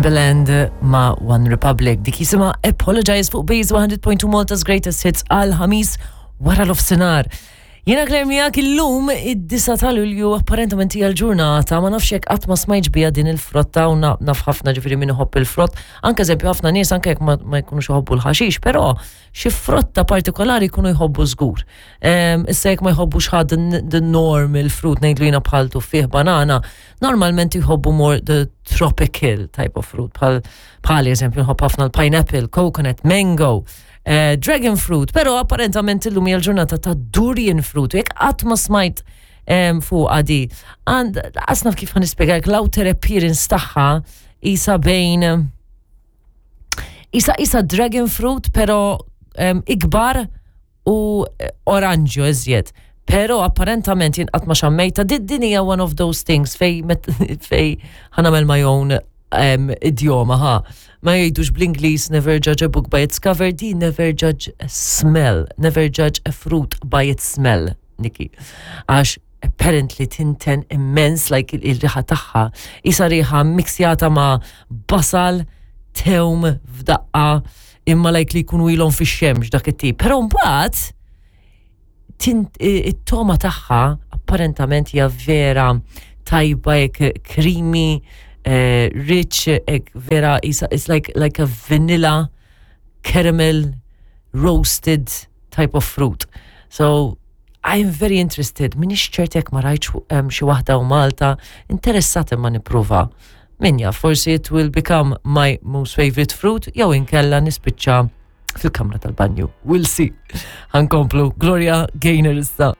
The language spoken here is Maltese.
Timbaland ma' One Republic. Dik jisimha Apologize fuq Base 100.2 Malta's Greatest Hits għal ħamis wara l-ofsinar. Jena Claire miegħek illum id-9 ta' Lulju apparentament hija l-ġurnata ma nafx jekk qatt ma smajtx biha din il-frotta u naf ħafna ġifieri min iħobb il-frott. Anke eżempju ħafna nies anke jekk ma jkunux iħobbu l-ħaxix, però xi frotta partikolari jkunu jħobbu żgur. Issa jekk ma jħobbux ħadd the normal fruit ngħidlu jiena bħal tuffieħ banana, normalment jħobbu more the tropical type of fruit bħal bħal eżempju nħobb ħafna l-pineapple, coconut, mango, eh, dragon fruit, però apparentament illum hija l-ġurnata ta' durian fruit, jekk qatt ma smajt fuq għadi. Għand, għasnaf kif għan nispjegak l-outer appearance tagħha isa bejn isa isa dragon fruit, pero ikbar u eh, oranġjo iżjed. Pero apparentament jien qatt ma xammejta, din hija one of those things fej fej ħanamel my own um, idjoma ha. Ma jgħidux bl-Ingliż never judge a book by its cover, di never judge a smell, never judge a fruit by its smell, Niki. Għax apparently tinten immens like il-riħa tagħha. Isa riħa miksjata ma' basal, tewm f'daqqa, imma like li jkunu ilhom fix-xemx dak it-tip. Però mbagħad it-toma tagħha apparentament hija vera tajba hekk creamy, eh, rich, hekk vera it's like, like a vanilla caramel roasted type of fruit. So I'm very interested, minix ċert jekk ma rajtx xi waħda u Malta, interessat imma nipprova. Min jaf, forsi it will become my most favorite fruit, jew inkella nispiċċa fil-kamra tal-banju. We'll see. Ħankomplu, Gloria Gaynor issa.